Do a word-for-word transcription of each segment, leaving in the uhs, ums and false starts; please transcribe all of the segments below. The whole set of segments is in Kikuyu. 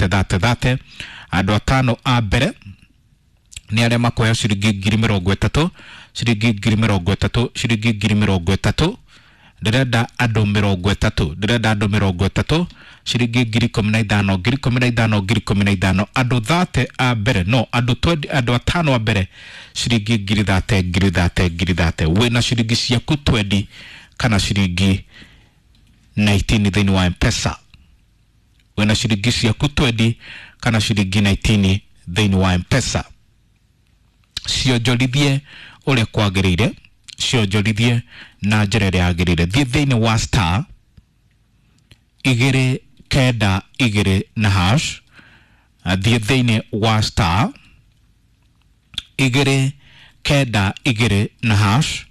thate thate thate. Andũ atano a mbere nĩ arĩa makuoya ciringi ngiri mĩrongo ĩtatũ, ciringi ngiri mĩrongo ĩtatũ, ciringi ngiri mĩrongo ĩtatũ. Ndĩrenda andũ mĩrongo ĩtatũ, ndĩrenda andũ mĩrongo ĩtatũ, ciringi ngiri ikũmi na ithano, ngiri ikũmi na ithano, ngiri ikũmi na ithano. Andũ thate a mbere, no andũ twenty, andũ atano a mbere, ciringi ngiri thate, ngiri thate, ngiri thate. Wĩna ciringi ciaku twenty kana ciringi nineteen thĩinĩ wa M-Pesa. Wĩna ciringi ciaku twenty kana ciringi nineteen thĩinĩ wa M-Pesa. Cionjorithie ũrĩa kwagĩrĩire, cionjorithie na njĩra ĩrĩa yagĩrĩire. Thiĩ thĩinĩ wa star igĩrĩ kenda igĩrĩ na hash. Thiĩ thĩinĩ wa star igĩrĩ kenda igĩrĩ na hash.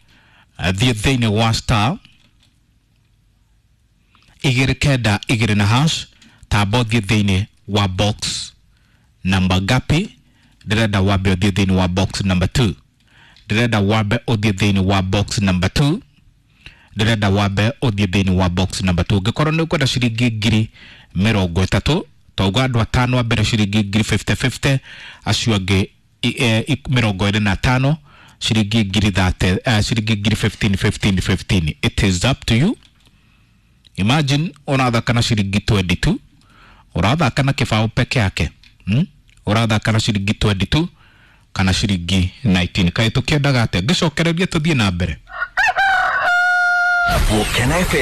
Thiĩ thĩinĩ wa star igĩrĩ kenda igĩrĩ na hash. Tamba ũthiĩ thĩinĩ wa box namba ngapi? Ndĩrenda wambe ũthiĩ thĩinĩ wa box number two. Ndĩrenda wambe ũthiĩ thĩinĩ wa box number two. Ndĩrenda wambe ũthiĩ thĩinĩ wa box number two. Ũngĩkorwo nĩ ũkwenda ciringi ngiri mĩrongo ĩtatũ, twauga andũ atano a mbere ciringi ngiri fifty fifty, acio angĩ mĩrongo ĩrĩ na tano ciringi ngiri thate, uh, ciringi ngiri fifteen fifteen fifteen. It is up to you. Imagine ũrathaka na ciringi twenty two, ũrathaka na kĩbaũ peke yake, hmm? Ũrathaka na ciringi twenty two kana ciringi nineteen. Kaĩ tũkĩendaga atĩa? Ngĩcokereria tũthiĩ na mbere. Volcano F M.